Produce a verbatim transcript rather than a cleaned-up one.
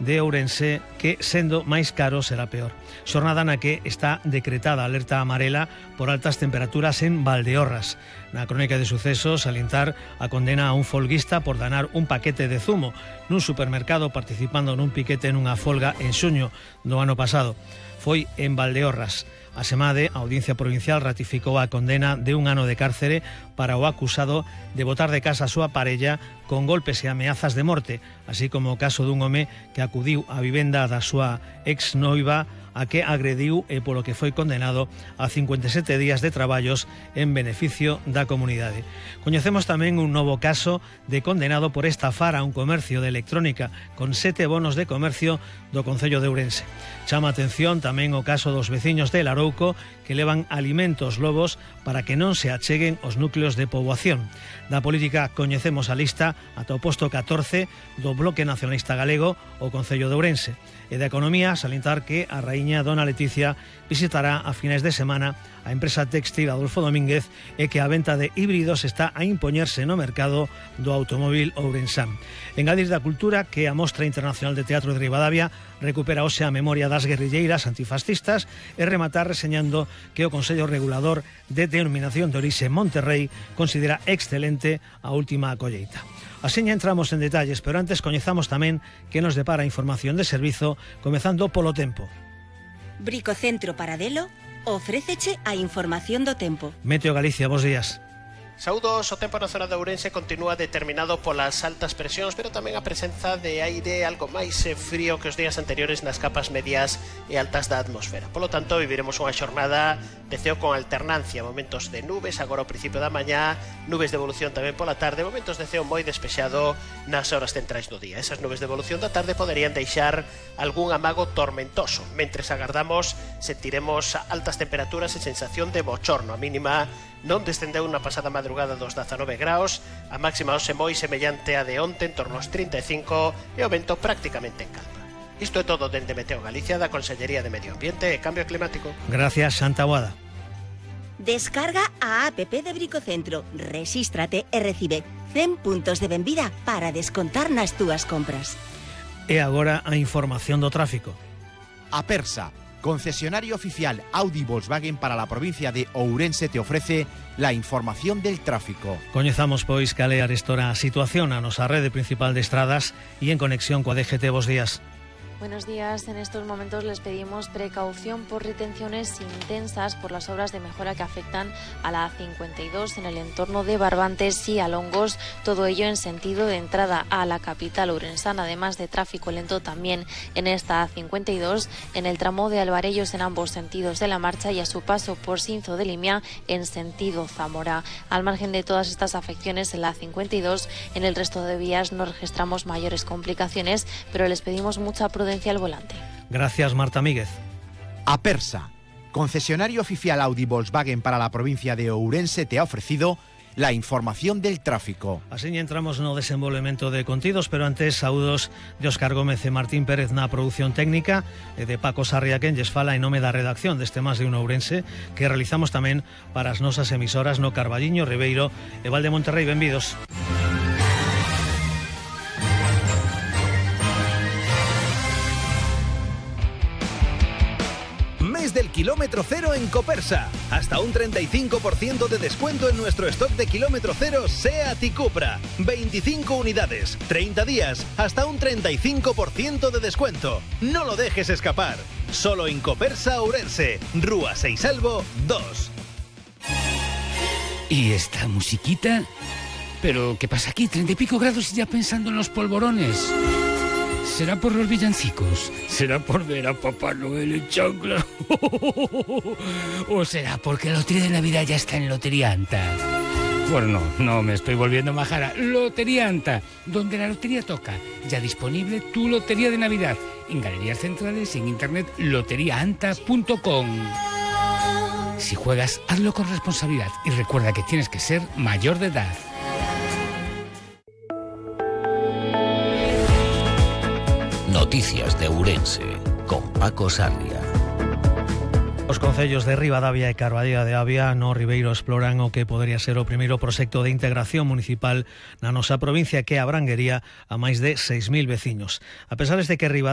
de Ourense que, sendo máis caro, será peor. Xornada na que está decretada alerta amarela por altas temperaturas en Valdeorras. Na crónica de sucesos, salientar a condena a un folguista por danar un paquete de zumo nun supermercado participando nun piquete nunha folga en xuño do ano pasado. Foi en Valdeorras. A Semade, a Audiencia Provincial, ratificou a condena de un ano de cárcere para o acusado de botar de casa a súa parella con golpes e ameazas de morte, así como o caso dun home que acudiu á vivenda da súa ex-noiva a que agrediu e polo que foi condenado a cincuenta e sete días de traballos en beneficio da comunidade. Coñecemos tamén un novo caso de condenado por estafar a un comercio de electrónica con sete bonos de comercio do Concello de Ourense. Chama a atención tamén o caso dos veciños de Larouco que levan alimentos lobos para que non se acheguen os núcleos de poboación. Da política coñecemos a lista ata o posto catorce do Bloque Nacionalista Galego o Concello de Ourense. E da economía, salientar que a raíña Dona Leticia visitará a finais de semana a empresa textil Adolfo Domínguez e que a venta de híbridos está a impoñerse no mercado do automóvil ourensán. Engadir da cultura que a Mostra Internacional de Teatro de Ribadavia recupera hoxe a memoria das guerrilleiras antifascistas e rematar reseñando que o Consello Regulador de Denominación de Orixe Monterrey considera excelente a última colleita. Asiña entramos en detalles, pero antes coñezamos tamén que nos depara a información de servizo, comezando polo tempo. Bricocentro Paradelo ofréceche a información do tempo. Meteo Galicia, bos días. Saúdos, o tempo na zona de Ourense continúa determinado polas altas presións, pero tamén a presenza de aire algo máis frío que os días anteriores nas capas medias e altas da atmosfera. Polo tanto, viviremos unha xornada de ceo con alternancia, momentos de nubes agora ao principio da mañá, nubes de evolución tamén pola tarde, momentos de ceo moi despexado nas horas centrais do día. Esas nubes de evolución da tarde poderían deixar algún amago tormentoso. Mentres agardamos, sentiremos altas temperaturas e sensación de bochorno. A mínima non descendeu na pasada madrugada dos dezanove graus, a máxima hoxe moi semellante a de onte en torno aos trinta e cinco e o vento prácticamente en calma. Isto é todo dende Meteo Galicia da Consellería de Medio Ambiente e Cambio Climático. Gracias, Santa Boada. Descarga a app de Bricocentro, rexístrate e recibe cen puntos de benvida para descontar nas túas compras. E agora a información do tráfico. Apersa, concesionario oficial Audi Volkswagen para la provincia de Ourense, te ofrece la información del tráfico. Coñezamos pois cal é a arestora situación a nosa rede principal de estradas e en conexión coa D G T. Bos días. Buenos días. En estos momentos les pedimos precaución por retenciones intensas por las obras de mejora que afectan a la A cincuenta y dos en el entorno de Barbantes y Alongos, todo ello en sentido de entrada a la capital ourensana, además de tráfico lento también en esta A cincuenta y dos en el tramo de Alvarellos en ambos sentidos de la marcha y a su paso por Sinzo de Limia en sentido Zamora. Al margen de todas estas afecciones en la A cincuenta y dos, en el resto de vías no registramos mayores complicaciones, pero les pedimos mucha prudencia al volante. Gracias, Marta Míguez. Apersa, concesionario oficial Audi Volkswagen para la provincia de Ourense, te ha ofrecido la información del tráfico. Así entramos no desenvolvemento de contidos, pero antes saúdos de Óscar Gómez e Martín Pérez na produción técnica e de Paco Sarria quen lles fala en nome da redacción deste Más de un Ourense que realizamos tamén para as nosas emisoras no Carballiño, Ribeiro e Val de Monterrey. Benvidos. Del kilómetro cero en Copersa. Hasta un treinta y cinco por ciento de descuento en nuestro stock de kilómetro cero SEAT y Cupra. veinticinco unidades, treinta días, hasta un treinta y cinco por ciento de descuento. No lo dejes escapar. Solo en Copersa Ourense, Rúa Seisalvo dos. ¿Y esta musiquita? ¿Pero qué pasa aquí? Treinta y pico grados y ya pensando en los polvorones. ¿Será por los villancicos? ¿Será por ver a Papá Noel en chanclas? ¿O será porque la lotería de Navidad ya está en Lotería Anta? Bueno, no, no me estoy volviendo majara. Lotería Anta, donde la lotería toca. Ya disponible tu lotería de Navidad. En galerías centrales y en internet lotería anta punto com. Si juegas, hazlo con responsabilidad y recuerda que tienes que ser mayor de edad. Noticias de Ourense, con Paco Sarria. Os concellos de Ribadavia e Carballeira de Avia no Ribeiro exploran o que podería ser o primeiro proxecto de integración municipal na nosa provincia que abranguería a máis de seis mil veciños. A pesar de que Ribadavia